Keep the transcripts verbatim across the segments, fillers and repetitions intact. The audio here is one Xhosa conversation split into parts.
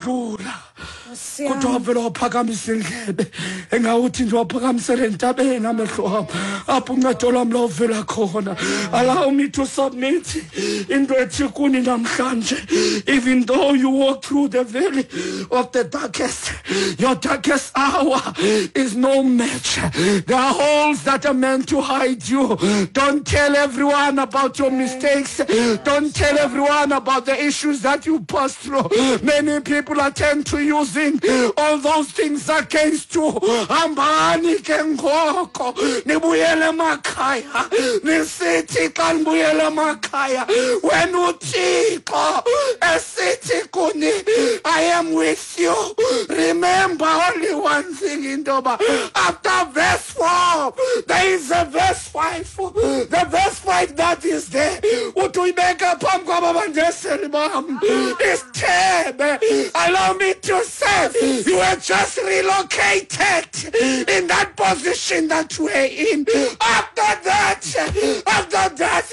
Wandlula. Nkosi yam. Kodwa wavela waphakamisa indlebe, engawuthi nje waphakamisele entabeni amehlo am, apho uncedo lwam lawuvela khona. Allow me to submit into ethi kuni namhlanje: even though you walk through the valley of the darkest, your darkest hour is no match. There are holes that are meant to hide you. Don't tell everyone about your mistakes. Don't tell everyone about the issues that you pass through. Many people attend to using all those things against you. Hambani ke ngoko, nibuyele emakhaya, nisithi xa nibuyele emakhaya, wena uThixo esithi kuni, "I am with you." Remember only one thing, into yoba after verse four there is a verse five. The verse five that is there, uthi uyibeka phambi kwaba bandeseli bam isithebe. Allow me to say, you were just relocated in that position that you were in. After that, after that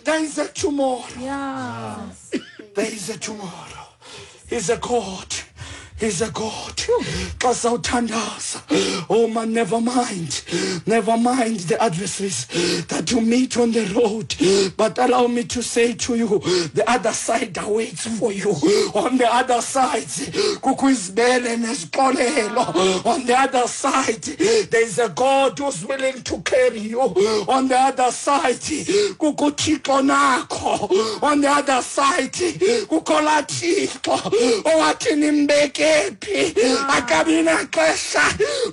there is a tomorrow. Yeah. There is a tomorrow. He's a God. He's a God. Xa sawuthandaza, oh man, never mind. Never mind the adversaries that you meet on the road. But allow me to say to you, the other side awaits for you. On the other side, kukho izibele nezixolelo. On the other side, there is a God who's willing to carry you. On the other side, kukho uThixo nakho. On the other side, kukho laa Thixo owathi nimbeke phi, akabi naxesha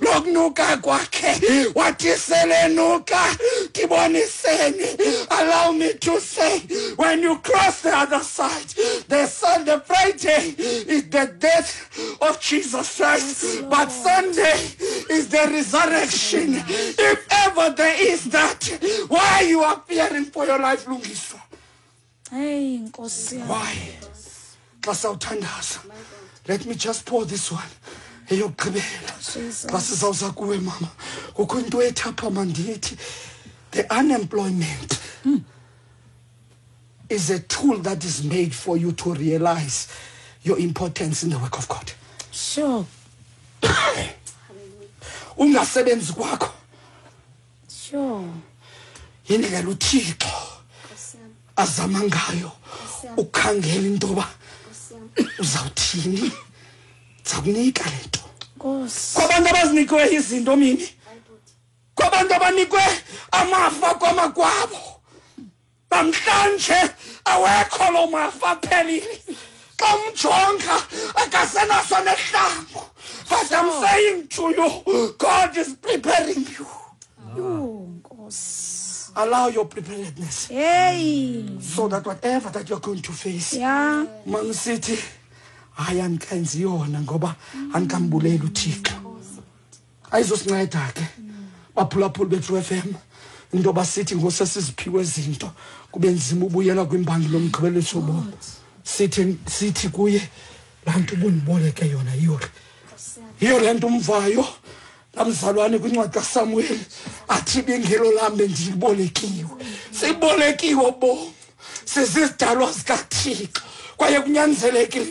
lokunuka kwakhe, wathi selenuka ndiboniseni. Allow me to say, when you cross the other side, the Sunday, Friday is the death of Jesus Christ, but Sunday is the resurrection, if ever there is that. Why you are fearing for your life, Lungiswa? Hey, Nkosi yam. Why? Xa sawuthandaza, let me just pour this one, eyokugqibela. Jesus. Xa sizawuza kuwe, mama, kukho into ethi apha, mandithi the unemployment is a tool that is made for you to realize your importance in the work of God. Sure. Ungasebenzi kwakho Sure. yindlela uThixo azama ngayo ukukhangela into yoba uzawuthini, ndizakunika le nto. Nkosi. Kwabantu abazinikiwe izinto mini, kwabantu abanikwe amafa kwamakwabo, namhlanje awekho loo mafa, aphelile. Xa umjonga akasenaso nehlangu. But I'm saying to you, God is preparing you. Yho, Nkosi. Allow your preparedness Hey. so that whatever that you're going to face, Yeah. mangisithi hayi, andikenzi yona ngoba andikambuleli uThixo, ayizosinceda ke, baphulaphula bethu F M, into basithi ngosesiziphiwe izinto kube nzima ubuyela kwimbangi lomgqibeliso wobomi. Sithi, sithi kuye, laa nto ubundiboleke yona, yiyo le, yiyo le nto umvayo lamzalwane kwincwadi kaSamuel athi ibingelo lam bendilibolekiwe. Sibolekiwe bomi, sizizidalwa zikaThixo, kwaye kunyanzelekile.